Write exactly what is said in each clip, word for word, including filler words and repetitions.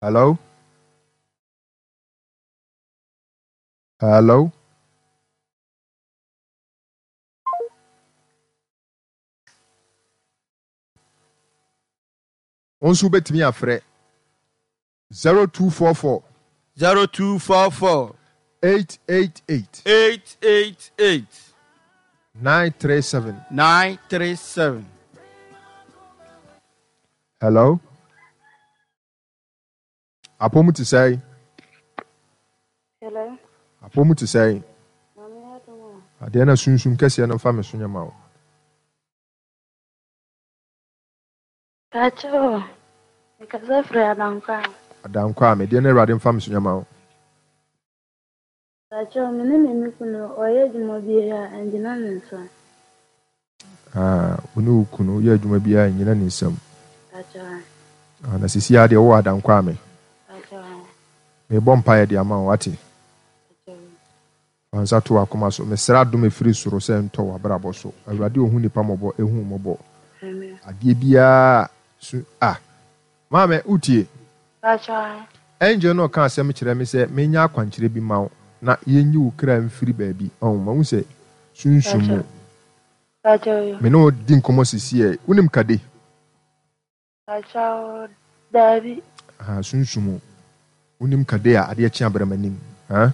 Hello? Hello? Wo nso wobɛtumi afrɛ zero two four four. Zero two four four. Eight eight eight. Eight eight eight. Nine three seven. Nine three seven. Hello? Apɔ mu te sɛn? Hello. Apɔ mu te sɛn? Maame adom o. Adeɛ na sunsum kɛseɛ no mfa me so nyɛ ma wo. Pakyɛ o, mekasa firi Adankwa. Adankwa a, medeɛ na Awurade mfa me so nyɛ ma wo. Pakyɛ o, me ne me me kunu ɔyɛ adwuma biara a, ɛngyina ne nsa. Ah, wo ne wo kunu yɛ adwuma biara a, ɛngyina ne nsam. Pakyɛ. Ah, na sisi ara deɛ wowɔ Adankwa me. Pakyɛ. Mebɔ mpaeɛ de ama wo, wate? Pakyɛ. Fa nsa to w'akoma so. Mesrɛ adom ɛfiri soro sɛ ɛntɔ w'abrabɔ so. Awurade ɔhu nnipa mmɔbɔ, ɛhu wo mmɔbɔ. Amen. Adeɛ biara su ah. Maame, wotie? Pakyɛ. Angel no reka asɛm kyerɛ me sɛ menyɛ akwankyerɛ bi ma wo na yɛnyi wo kra mfiri baabi. Ɔho, mahu sɛ sunsum mu. Pakyɛ. Me ne wo di nkɔmmɔ sisiɛ. Wonim Kade? Pakyɛ, daabi. Aha, sunsum mu. Wonim Kade a adeɛ kye abrɛ m'anim. Ha?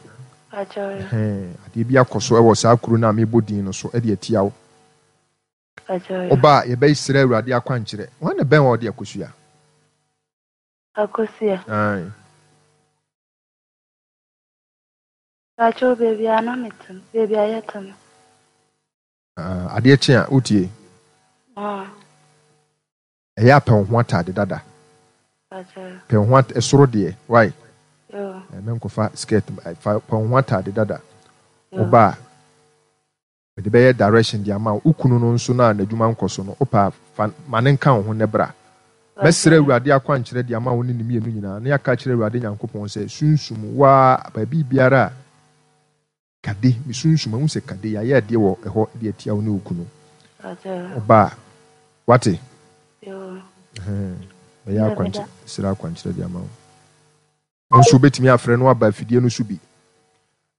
Pakyɛ. Ɛhɛn, adeɛ bi akɔ so wɔ saa kuro no a mebɔ din no so de atia wo. Pakyɛ. Woba a, yɛbɛsrɛ Awurade akwankyerɛ. Hwan na ɛbɛn wo a ɔde akosua? Akosua. Ae. Pakyɛ baabi a na mete no, baabi a yɛte no. Ah, adeɛ kye a, wotie? Ah. Ɛyɛ a pɛ wo ho ataade dada. Pakyɛ. Pɛ wo ho at ɛsoro deɛ, why? Yo. Mɛnkɔfa skirt, fa pɛ wo ho ataade dada. Yo. Woba a, mede bɛyɛ direction de ama wo. Wo kunu no nso no a n'adwuma nkɔ so no, wopɛ a fa ma no nka wo ho na bra. Mɛsrɛ Awurade akwankyerɛ de ama wo ne ne mmienu nyinaa, na yɛaka akyerɛ Awurade Nyankopɔn sɛ, Sunsum, wo ara, baabi biara a Kade, me sunsum, mahu sɛ Kade, yɛayɛ adeɛ wɔ ɛhɔ de atia wo ne wo kunu. Woba a, woate? Ɛhɛn, mɛyɛ akwankyerɛ, srɛ akwankyerɛ de ama wo. Wo nso wobɛtumi afrɛ no aba afidie no so bi.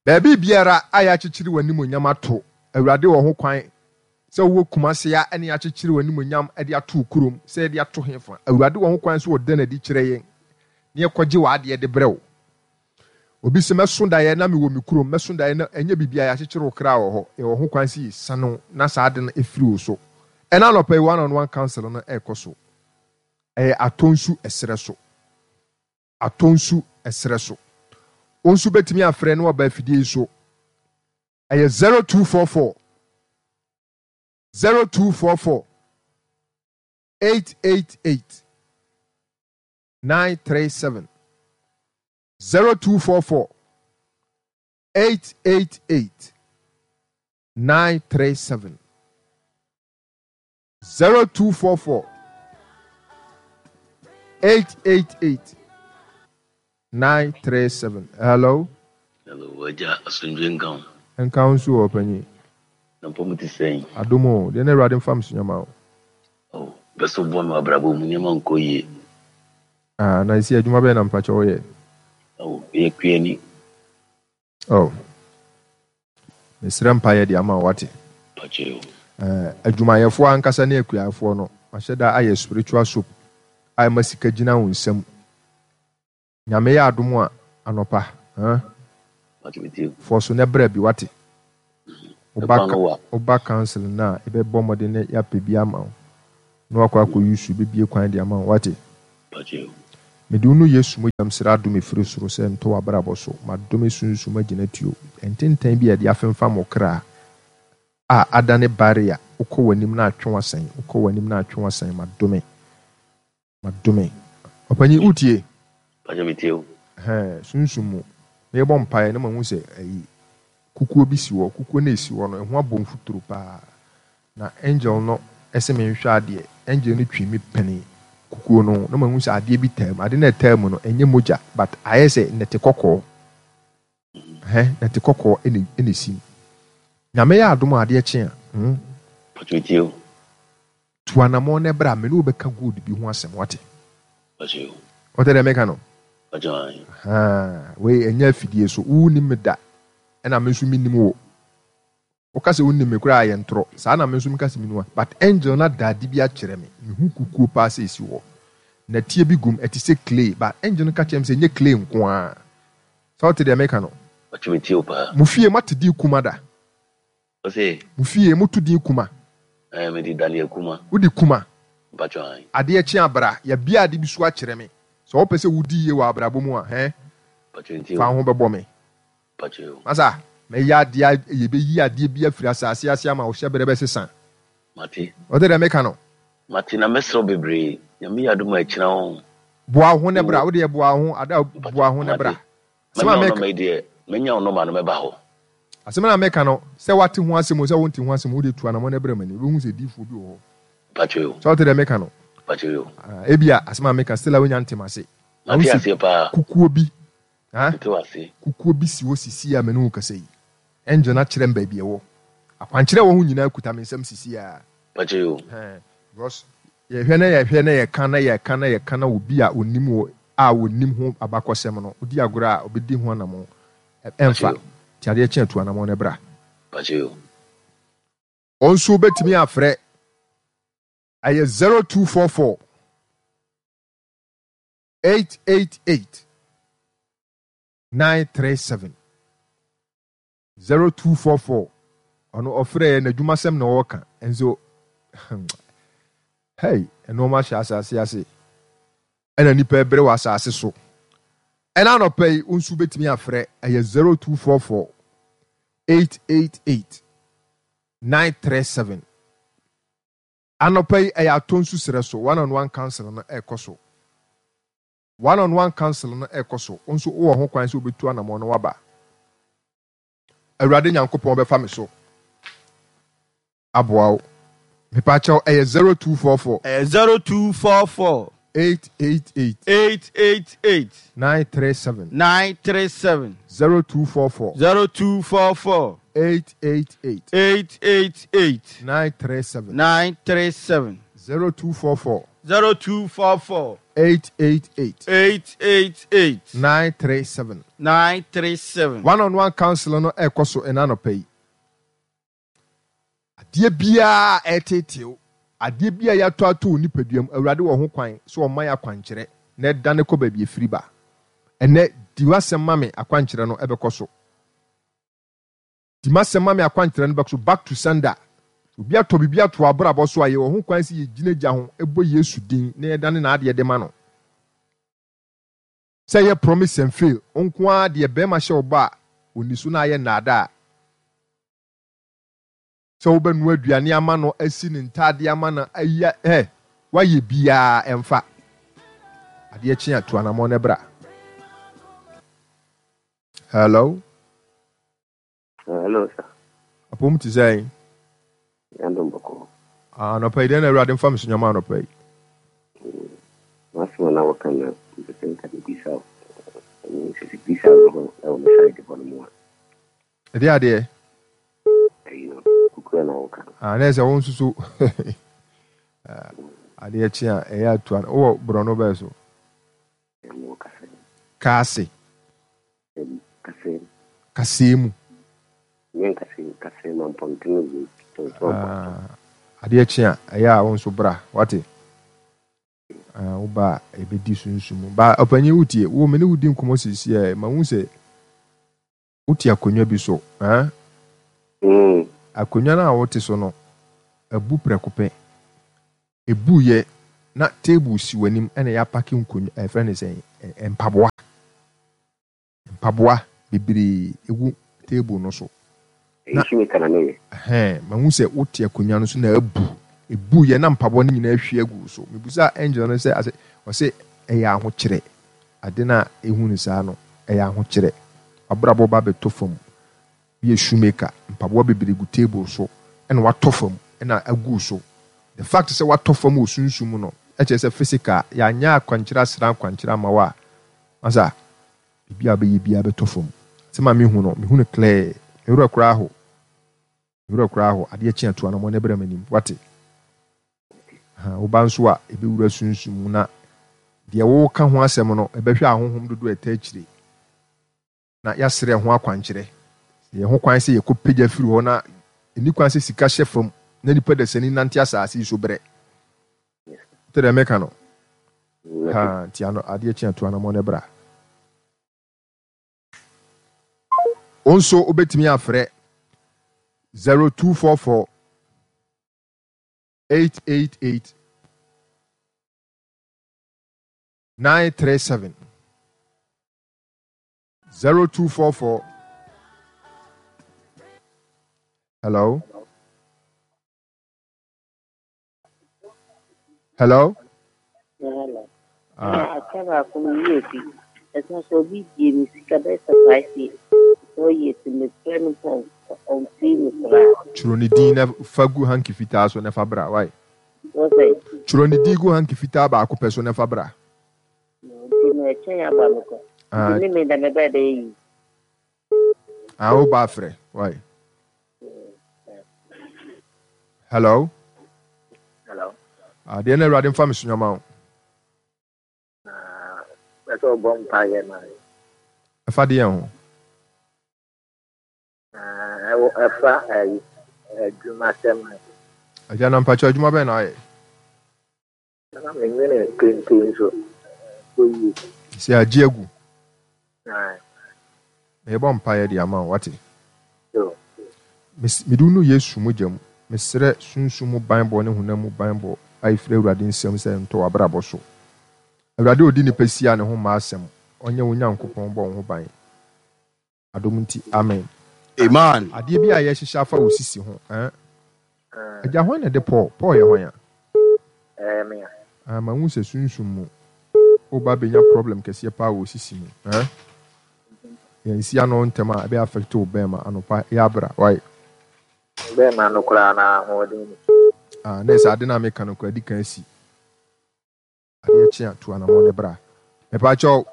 Baabi biara a yɛakyekyere w'animuonyam ato, Awurade wɔ ho kwan sɛ wowɔ Kumase a ɛne yɛakyekyere w'animuonyam de ato wo kurom, sɛ yɛde ato hefa. Awurade wɔ ho kwan sɛ ɔda no adi kyerɛ yɛn na yɛkɔgye w'adeɛ de brɛ wo. Obi se, mɛso daeɛ na mewɔ me kurom, mɛso daeɛ na ɛnyɛ biribi a yɛakyekyere wo kra wɔ hɔ. Yɛwɔ ho kwan sɛ yɛsiane wo na saa ade no firi wo so. Ɛna anɔpa yi one on one council no ɛrekɔ so. Ɛyɛ Atonsu ɛserɛ so. Atonsu ɛserɛ so. Wo nso bɛtumi afrɛ na waba afidie yi so. Ɛyɛ zero two four four zero two four four eight eight eight nine three seven zero two four four eight eight eight nine three seven zero two four four eight eight eight nine three seven. Hello. Hello, wagya asomdwe nka wo. Nka wo nso wɔ ɔpanyin. Na mpɔ mu te sɛn? Adom o, deɛ na Awurade mfa me so nyɛ ma wo. Oh, bɛ so boa me wɔ abrabɔ mu, nneɛma nkɔ yie. Ah, na esi adwuma bɛyɛ na mpakyɛ woyɛ? Oh, meyɛ kuani. Oh, mesrɛ mpaeɛ de ama wo wate. Mpakyɛ o. Eh, adwumayɛfoɔ ankasa ne akuafoɔ no, mahyɛ da ayɛ spiritual soap a ɛma sika gyina wo nsam. Nyame yɛ adom a, anɔpa, huh? Mpakyɛ metie o. Fɔ so na bra bi wate. Woba Ɛkwan no wa. woba council no a, yɛbɛbɔ mmɔden na yɛapɛ bi ama wo. Na wakɔ akɔ use bɛbie kwan de ama wo wate. Mpakyɛ o. Mede wo no Yesu mogya mesrɛ adom ɛfiri soro sɛ ntɔ w'abrabɔ so. Madome sunsum agyinatuo. Ntentan bi a yɛde afemfam wo kra a adane barrier. Wokɔ w'anim na atwe w'asan. Wokɔ w'anim na atwe w'asan. Madome. Madome. Ɔpanyin wotie? Mpakyɛ metie o. Ɛhɛn, sunsum mu. Merebɔ mpaeɛ na mahu sɛ ayi kukuo bi si hɔ. Kukuo no a ɛsi hɔ no, ɛho abɔ mfuturo paa. Na angel no ɛsɛ menhwɛ adeɛ. Angel no twi me pɛne kukuo no ho na mahu sɛ adeɛ bi taa mu. Ade no a ɛtaa mu no, ɛnyɛ mogya but ayɛ sɛ nnɛte kɔkɔɔ. Ɛhɛn, nnɛte kɔkɔɔ ɛna ɛna ɛsi mu. Nyame yɛ adom a adeɛ kye a, hmm, Mpakyɛ metie o. tu anammɔn na bra me ne wo bɛka gold bi ho asɛm wate. Mpakyɛ o. Wote deɛ meka no? Mpakyɛw ae. Ahaa, wei ɛnyɛ afidie so. Wonnim me da, ɛna me nso mennim wo. Woka sɛ wonim me koraa a ɛyɛ ntorɔ. Saa na me nso meka sɛ menim wo. But angel no ada ade bi akyerɛ me. Mehu kukuo paa sɛ ɛsi hɔ. Nɛteɛ bi gum, ɛte sɛ clay. But angel no ka kyerɛɛ me sɛ ɛnyɛ clay nko ara. Sɛ wote deɛ meka no? Ɔkye metie wo paa. Mo fie moate din Kuma da? Ose? Mo fie moto din Kuma? Ɛɛ mede Daniel Kuma. Wode Kuma? Mpakyɛw ae. Adeɛ kye a bra, yɛabue ade bi so akyerɛ me. Sɛ wopɛ sɛ wodi yie wɔ abrabɔ mu a, hɛn? Mpakyɛw ntie Fa wo. wo ho bɛbɔ me. Mpakyɛw. Masa, mɛyɛ adeɛ a yɛbɛyi adeɛ bi afiri asase ase ama wo hyɛberɛ bɛsesa. Mate. Wote deɛ meka no? Mate na mɛsrɛ wo bebree. Nyame yɛ adom a ɛkyena wo. Boa wo ho na bra. Mewɔ. Wo deɛ boa wo ho, ada boa Mpakyɛw wo ho na bra. mate. Asɛm a Manya wo meka. nɔma yi deɛ, manya wo nɔma no mɛba hɔ. Asɛm no a meka no, sɛ woate ho asɛm o, sɛ wonte ho asɛm o, wo deɛ tu anamɔn na bra m'anim. Wobɛhu sɛ diyifoɔ bi wɔ hɔ. Mpakyɛw yo. Sɛ wote deɛ meka no? Mpakyɛw yo. Ah, ebia asɛm a meka still a wonya ntem ase. Mahu Mate sɛ aseɛ paa. kukuo bi, ah, Mete wo ase. kukuo bi si hɔ sisi a me ne wo kasa yi. Angel no akyerɛ me baabi ɛwɔ. Akwankyerɛ a ɛwɔ ho nyinaa kuta me nsam sisi a. Mpakyɛw yo. Ɛhɛn, because yɛhwɛ na yɛhwɛ na yɛka na yɛka na yɛka na obi a onim wɔ a onim ho abakɔsɛm no, odi agorɔ a obedi ho anamɔn. Mpakyɛw Ɛmfa. yo. Nti adeɛ kye a tu anamɔn na bra. Mpakyɛw yo. Wɔn nso wobɛtumi afrɛ. Ɛyɛ zero two four four eight eight eight nine three seven zero two four four. Ɔno ɔfrɛ yɛ n'adwumasɛm na ɔreka nso. Hey, nneɛma hyɛ asase ase ɛna nipa ɛbrɛ wɔ asase so. Ɛna anɔpa yi wo nso wobɛtumi afrɛ ɛyɛ zero two four four eight eight eight nine three seven. Anɔpa yi ɛyɛ atɔ nsu serɛ so one on one council no ɛkɔ so. One on one council no ɛkɔ so. Wo nso wowɔ ho kwan sɛ wobɛtu anammɔn na waba. Awurade Nyankopɔn bɛfa me so aboa wo. Mepakyɛw ɛyɛ zero two four four. Ɛyɛ zero two four four. Eight eight eight. Eight eight eight. Nine three seven. Nine three seven. Zero two four four. Zero two four four. Eight eight eight. Eight eight eight. Nine three seven. Nine three seven. Zero two four four. Zero two four four. Eight eight eight. Eight eight eight. Nine three seven. Nine three seven. One on one council no ɛkɔ so ɛna anɔpa yi. Adeɛ biara a ɛreteetee wo, adeɛ biara a yɛatɔ ato wo nipadua mu, Awurade wɔ ho kwan sɛ ɔma yɛ akwankyerɛ na ɛdane kɔ baabi ɛfiri ba. Ɛnnɛ, di w'asɛm ma me akwankyerɛ no ɛbɛkɔ so. Di m'asɛm ma me akwankyerɛ no bɛkɔ so. Back to sender. Obi atɔ biribi ato w'abrabɔ so a, yɛwɔ ho kwan sɛ yɛgyina gya ho bɔ Yesu din na yɛdane n'adeɛ de ma no. Sɛ ɛyɛ promise and fail nko ara deɛ barima hyɛ wo bɔ a, ɔnni so na ayɛ nnaadaa. Sɛ wobɛnoa aduane ama no, asi ne ntaadeɛ ama no, ayi a, ɛ, woayɛ biara ɛmfa. Adeɛ kye a, tu anamɔn na bra. Hello. Hello, sir. Apom te sɛn? Yandom bɔkɔ. Ah, anɔpa yi, dɛn na Awurade mfa me so nyama anɔpa yi? M'asɛm a na wɔka na mepɛ sɛ nka mebisa wo. Ɛno sɛ sɛ bisa wo ho ɛwɔ me side hɔ no mu a. Ɛdeɛ adeɛ? Ɛyi no, kukura na wɔka no. Ah, na ɛsɛ wo nso so. Adeɛ kye a, ɛyɛ atua no. Wowɔ borɔno bɛɛ so? Ɛmu kasɛɛ. Kaase. Kasɛɛ. Kasɛɛ mu. Nyɛ nkasɛɛ, kasɛɛ ma mpɔntene wɔ tɔntɔn. Ah, adeɛ kye a, ɛyɛ a wo nso bra, wate? Ah, wo ba a, ɛbɛdi sunsum mu. Ba, ɔpanyin wotie, wo me ne wo di nkɔmmɔ seesei a, ma hu sɛ wote akonnwa bi so. Ah? Mm. Akonnwa no a wote so no, abu prɛko pɛ. Ebuiɛ na table si w'anim ɛna yɛapake nkonnwa, ɛfrɛ no sɛn, mpaboa. Mpaboa bebree egu table no so. Na ɛhɛn, mahu sɛ wote akonnwa no so na abu. Ebuiɛ na mpaboa no nyinaa ahwie agu wo so. Mebusaa angel no sɛ, ase, ɔse ɛyɛ ahokyerɛ. Ade no a ehu no saa no, ɛyɛ ahokyerɛ. W'abrabɔ ba bɛtɔ fam. Woyɛ shoemaker, mpaboa bebree gu table so ɛna watɔ fam ɛna agu wo so. The fact sɛ watɔ fam wɔ sunsum mu no, ɛkyerɛ sɛ physical, yɛanyɛ akwankyerɛ asra akwankyerɛ ama wo a, masa, biribi a wobɛyɛ biara bɛtɔ fam. Asɛm a mehu no, mehu no clear. Me werɛ koraa ho. Me werɛ koraa ho. Adeɛ kye a, tu anamɔ na ɛbrɛ m'anim. Wate? Ha, woba nso a, ɛbɛwura sunsum mu na Deɛ woreka ho asɛm no, ɛbɛhwɛ ahonhom dodoɔ a ɛtaa akyire, na yɛasrɛ ɛho akwankyerɛ. Sɛ yɛn ho kwan sɛ yɛkɔpagya firi hɔ na ɛnni kwan sɛ sika hyɛ fam na nipa dasani nante asase yi so brɛ. Wote deɛ meka no? Ha, nti ano, adeɛ kye a tu anamɔ no bra. Wo nso wobɛtumi afrɛ zero two four four eight eight eight nine three seven zero two four four. Hello, hello. Hello. Ah. Aka baako no yie fi. Ɛsan sɛ obi gye me sika bɛyɛ sɛ five years. Four years mefrɛ no mpo ɔmfii me koraa. Twerɛ ne din na fa gu hanky fitaa so na fa bra. Why? Wɔ sɛ? Twerɛ ne din gu hanky fitaa baako pɛ so na fa bra. Nti no ɛkyɛn aba me kɔ. Nti me me da me bɛɛ bɛyɛ yi. Ah, wo ba frɛ. Why? Hello. Hello. Ah, deɛ na Awurade mfa me so nyama wo. Na bɛsɛ ɔbɔ mpaeɛ ma me. Ɛfa deɛ ho? Na ɛwɔ ɛfa ɛyi adwumasɛm ho. Agya na mpakyɛ adwuma bɛn na ayɛ? Na menwene kente nso ɛkɔ yie. Sɛ agye agu. Aye. Mebɔ mpaeɛ de ama wo, wate? Yo. Mede wo nu Yesu mogya mu. Mesrɛ sunsum mu banbɔ ne honam mu banbɔ a ɛfiri Awurade nsam sɛ ɛntɔ w'abrabɔ so. Awurade a ɔdi nnipa si a ne ho mma asɛm, ɔnyɛ wo Nyankopɔn bɔ wo ho ban. Adom nti, amen. Amen. Adeɛ bi a yɛhyehyɛ afa wo sisi ho. Eh? Agya, hwan na ɛde Paul? Paul yɛ hwan a? Ɛyɛ me a. Ah, mahu sɛ sunsum mu woba bɛnya problem kɛseɛ paa wɔ sisi mu. Eh? Yɛnsi ano ntɛm a ɛbɛyɛ affect wo bɛrima anɔpa yɛ abra. Why? Bɛrima no koraa na ahoɔden ni. Ah, na ɛsɛ ade no a meka no koraa di kan si. Adeɛ kye a tu anamɔ ne bra. Mepa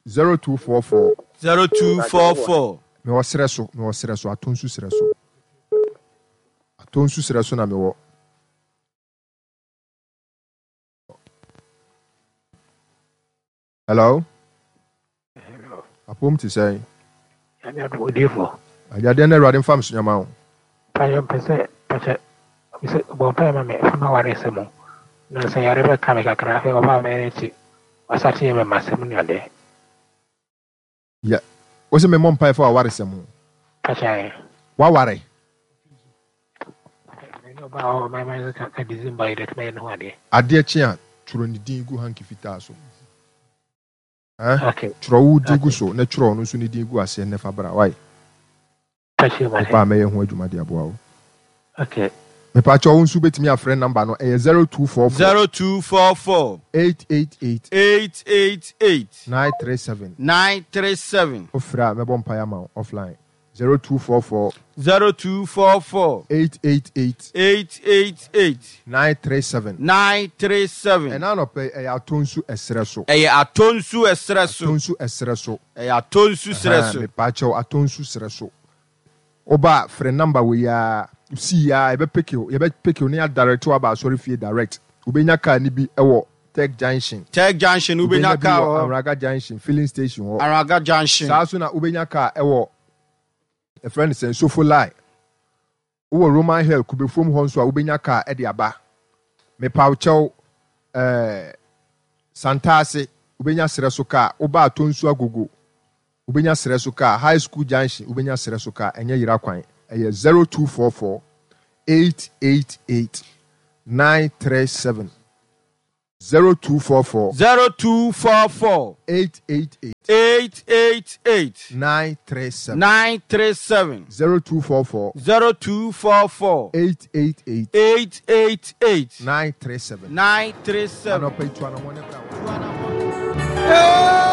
zero two four four zero two four four. Mewɔ serɛ so, mewɔ serɛ so, atɔ nsu serɛ so. Atɔ nsu serɛ so na mewɔ. Hello. Hello. Apom te sɛn? Nyame adom odiyifo. Agyadeɛ na Awurade mfa me so nyama wo. Mpaeɛ mpɛ sɛ pakyɛ sɛ bɔ mpaeɛ ma me ɛfa m'awaresɛm mu. Na sɛ yare bɛka me kakra afei ɔbaa mɛyɛ n'akyi wasate yɛ me masɛm ne adeɛ. Ya, wo sɛ memmɔ mpaeɛ fa w'awaresɛm ho. Pakyɛ. Waware. Ɛne ɔbaa hɔ ɔbaa mɛyɛ ka December yi dɛ mɛyɛ ne ho adeɛ. Adeɛ kye a twerɛ ne din gu hanky fitaa so. Eh? Okay. Twerɛ wo din gu so na twerɛ ɔno nso ne din gu aseɛ ne fa bra. Why? Pakyɛ ma Ɔbaa mɛyɛ ho adwuma de aboa wo. Okay. Mepakyɛ wo nso wobɛtumi afrɛ number no ɛyɛ zero two four four zero two four four eight eight eight eight eight eight nine three seven nine three seven. Wofrɛ a mɛbɔ mpaeɛ ama wo offline. zero two four four zero two four four eight eight eight eight eight eight nine three seven nine three seven. Ɛna anɔpɛ ɛyɛ atɔ nsu ɛserɛ so. Ɛyɛ atɔ nsu ɛserɛ so. Atɔ nsu ɛserɛ so. Ɛyɛ atɔ nsu serɛ so. Mepakyɛw atɔ nsu serɛ so. Woba frɛ number wei a si ya yɛbɛpeke wo yɛbɛpeke wo ne adirect wo aba asɔre fie direct. Wobɛnya car ni bi ɛwɔ Tech Junction. Tech Junction wobɛnya car wɔ Anraga Junction filling station hɔ. Anraga Junction. Saa so na wobɛnya car ɛwɔ ɛfrɛ no sɛ Nsofo Line. Wowɔ Roman Hill Kubefuom hɔ nso a wobɛnya car ɛde aba. Mepawkyɛw ɛɛ Santaase wobɛnya serɛ so car. Woba atɔ nsu agogo wobɛnya serɛ so car. High School Junction wobɛnya serɛ so car. Ɛnyɛ yera kwan. Ɛyɛ zero two four four eight eight eight nine three seven zero two four four zero two four four eight eight eight eight eight eight nine three seven nine three seven zero two four four zero two four four eight eight eight eight eight eight nine three seven nine three seven. Anɔpa yi tu anamɔ ne bra. Yeah.